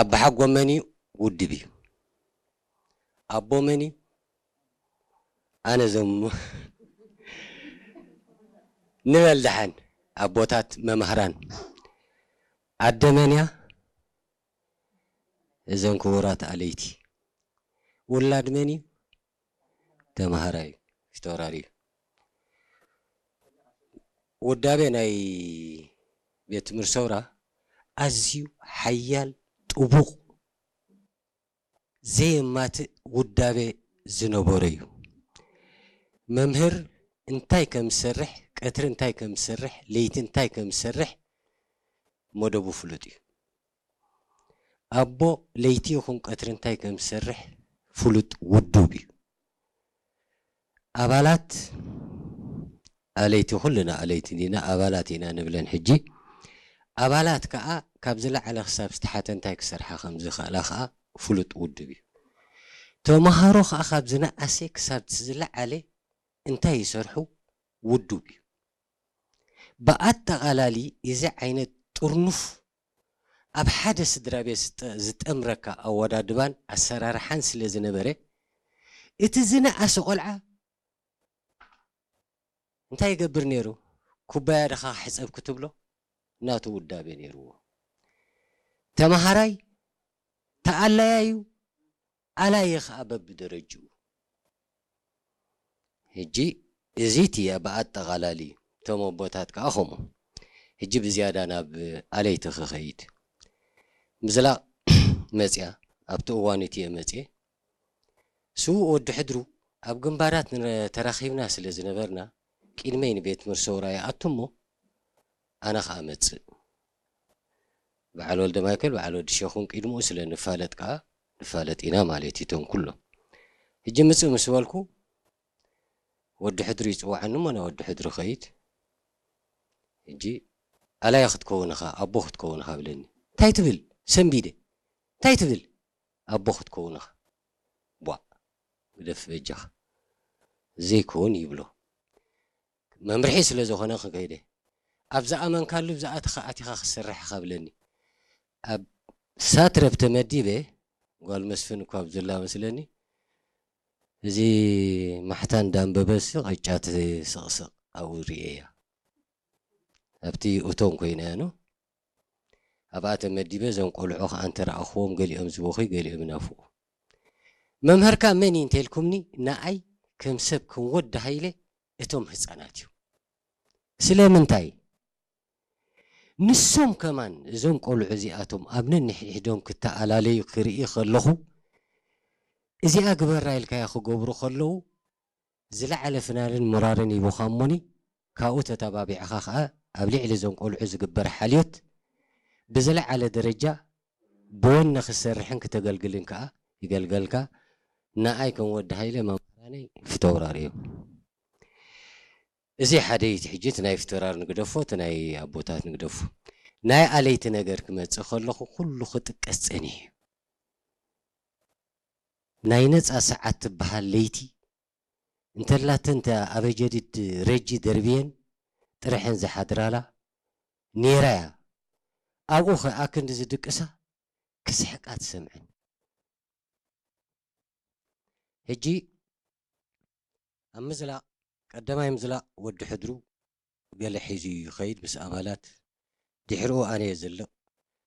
ኣባሓጎ መን እዩ? ውድብ እዩ። ኣቦ መን እዩ? ኣነ ዘሙ ንበል ደሓን ኣቦታት መማህራን። ኣደ መን እያ? እዘን ክቡራት ኣለይቲ። ውላድ መን እዩ? ተማሃራይ እዩ፣ ፊተውራሪ እዩ። ውዳቤ ናይ ቤት ትምህርቲ ሰውራ ኣዝዩ ሓያል፣ ጥቡቕ፣ ዘየማትእ ውዳቤ ዝነበሮ እዩ። መምህር እንታይ ከም ዝሰርሕ፣ ቀትሪ እንታይ ከም ዝሰርሕ፣ ለይቲ እንታይ ከም ዝሰርሕ መደቡ ፍሉጥ እዩ። ኣቦ ለይቲ ይኹን ቀትሪ እንታይ ከም ዝሰርሕ ፍሉጥ ውዱብ እዩ። ኣባላት ኣለይቲ፣ ኩልና ኣለይቲ ዲና፣ ኣባላት ኢና ንብለን ሕጂ። ኣባላት ከኣ ካብ ዝለዓለ ክሳብ ዝተሓተ እንታይ ክሰርሓ ከም ዝኽእላ ከኣ ፍሉጥ ውዱብ እዩ። ተምሃሮ ከኣ ካብ ዝነኣሰ ክሳብ ዝለዓለ እንታይ ይሰርሑ ውዱብ እዩ። ብኣጠቓላሊ እዚ ዓይነት ጥርኑፍ ኣብ ሓደ ስድራ ቤት ዝጠ-፣ ዝጠምረካ ኣወዳድባን ኣሰራርሓን ስለ ዝነበረ፣ እቲ ዝነኣሰ ቆልዓ እንታይ ይገብር ነይሩ? ኩባያ ድኻ ክሕጸብ ክትብሎ ናቱ ውዳቤ ነይርዎ። ተማሃራይ ተኣላያዩ፣ ኣላዪ ኸኣ በብደረጅኡ። ሕጂ እዚ እቲ ብኣጠቓላሊ እቶም ኣቦታት ከኣ ኸምኡ። ሕጂ ብዝያዳ ናብ ኣለይቲ ክኸይድ። ምዝላቕ መጽያ፣ ኣብቲ እዋን እቲ እየ መጽየ። ስዉእ ወዲ ሕድሩ ኣብ ግንባራት ንረ-፣ ተራኺብና ስለ ዝነበርና፣ ቅድመይ ንቤት ትምህርቲ ሰውራ ይኣቱ እሞ፣ ኣነ ኸኣ እመጽእ። በዓል ወልደ ማይከል፣ በዓል ወዲ ሸኹን ቅድምኡ ስለ ንፋለጥ ከኣ፣ ንፋለጥ ኢና ማለት እዩ፣ እቶም ኩሎም። ሕጂ ምጽእ ምስ በልኩ፣ ወዲ ሕድሪ ይጽውዓኒ እሞ፣ ናብ ወዲ ሕድሪ ኸይድ። ሕጂ፣ ኣላይ ክትከውን ኢኻ፣ ኣቦ ክትከውን ኢኻ ብለኒ። እንታይ ትብል? ሰንቢደ። እንታይ ትብል? ኣቦ ክትከውን ኢኻ። ቧእ፣ ግደፍ በጃኻ። ዘይከውን ይብሎ። መምርሒ ስለ ዝኾነ ክከይደ። ኣብ ዝኣመንካሉ፣ ኣብ ዝኣተኻ ኣቲኻ ክትሰርሕ ኢኻ ብለኒ። ኣብ ሳትረብ ተመዲበ፣ ጓል መስፍን እኳ ኣብ ዘላ መስለኒ፣ እዚ ማሕታ እንዳንበበሲ ቅጫ ትስቕስቕ ኣብኡ ርእየያ። ኣብቲ እቶን ኮይነ እያ፣ ኖ? ኣብኣ ተመዲበ፣ እዞም ቆልዑ ኸኣ እንተ ረኣኽዎም፣ ገሊኦም ዝበኽዩ፣ ገሊኦም ይናፍቑ። መምህርካ መን እዩ እንተ ኢልኩምኒ፣ ንኣይ ከም ሰብ፣ ከም ወዲ ሃይለ፣ እቶም ህጻናት እዮም። ስለምንታይ? ንሶም ከማን፣ እዞም ቆልዑ እዚኣቶም ኣብ ነንሕድሕዶም ክተኣላለዩ ክርኢ ከለኹ፣ እዚኣ ግበራ ኢልካያ ክገብሩ ከለዉ፣ ዝለዓለ ፍናንን ሞራርን ሂቡኻ እሞኒ፣ ካብኡ ተተባቢዕኻ ኸኣ ኣብ ልዕሊ እዞም ቆልዑ ዝግበር ሓልዮት ብዝለዓለ ደረጃ ብወነ ክትሰርሕን ክተገልግልን ከኣ ይገልገልካ። ንኣይ ከም ወዲ ሃይለ መምህራነይ ፊተውራሪ እዮም። እዚ ሓደ እዩ። እቲ ሕጂ እቲ ናይ ፊተውራር ንግደፎ፣ እቲ ናይ ኣቦታት ንግደፎ። ናይ ኣለይቲ ነገር ክመጽእ ከለኹ ኩሉ ክጥቀስ ጸኒሑ እዩ። ናይ ነጻ ሰዓት ትበሃል ለይቲ እንተላተን፣ እታ ኣበ ጀዲድ ረጂ ደርብየን ጥርሐን ዝሓድራላ ኔራ እያ። ኣብኡ ኸኣ ክንዲ ዝድቅሳ ክስሕቃ ትሰምዐን። ሕጂ ኣብ ምዝላቕ፣ ቀዳማይ ምዝላቕ ወዲ ሕድሩ ገለ ሒዙ ይኸይድ ምስ ኣባላት። ድሕሪኡ ኣነ እየ ዝልቕ።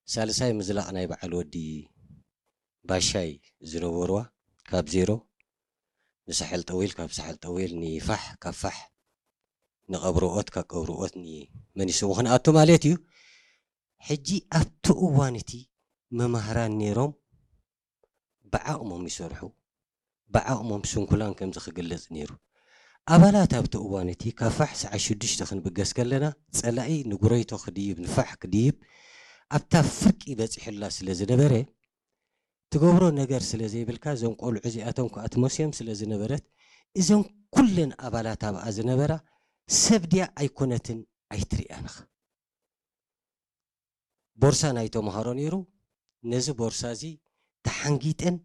ሳልሳይ ምዝላቕ ናይ በዓል ወዲ ባሻይ ዝነበርዋ፣ ካብ ዜሮ ንሳሕል ጠዊል፣ ካብ ሳሕል ጠዊል ንፋሕ፣ ካብ ፋሕ ንቐብርኦት፣ ካብ ቀብርኦት ንመኒሱ ክንኣቱ ማለት እዩ። ሕጂ ኣብቲ እዋን እቲ መማህራን ነይሮም፣ ብዓቕሞም ይሰርሑ፣ ብዓቕሞም ስንኩላን ከምዚ ክግለጽ ነይሩ። ኣባላት ኣብቲ እዋን እቲ ካብ ፋሕ ሰዓት ሽዱሽተ ክንብገስ ከለና፣ ጸላኢ ንጉረይቶ ክድይብ፣ ንፋሕ ክድይብ ኣብታ ፍርቂ በጺሑላ ስለ ዝነበረ፣ ትገብሮ ነገር ስለ ዘይብልካ፣ እዞም ቆልዑ እዚኣቶም ከኣ ትመስዮም ስለ ዝነበረት፣ እዘን ኩለን ኣባላት ኣብኣ ዝነበራ ሰብ ድያ ኣይኮነትን ኣይትርእያን ኢኻ። ቦርሳ ናይ ተምሃሮ ነይሩ። ነዚ ቦርሳ እዚ ተሓንጊጠን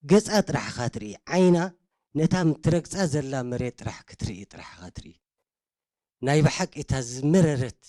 ገጻ ጥራሕ ኢኻ ትርኢ። ዓይና ነታ ትረግጻ ዘላ መሬት ጥራሕ ክትርኢ ጥራሕ ኢኻ ትርኢ። ናይ ብሓቂ እታ ዝመረረት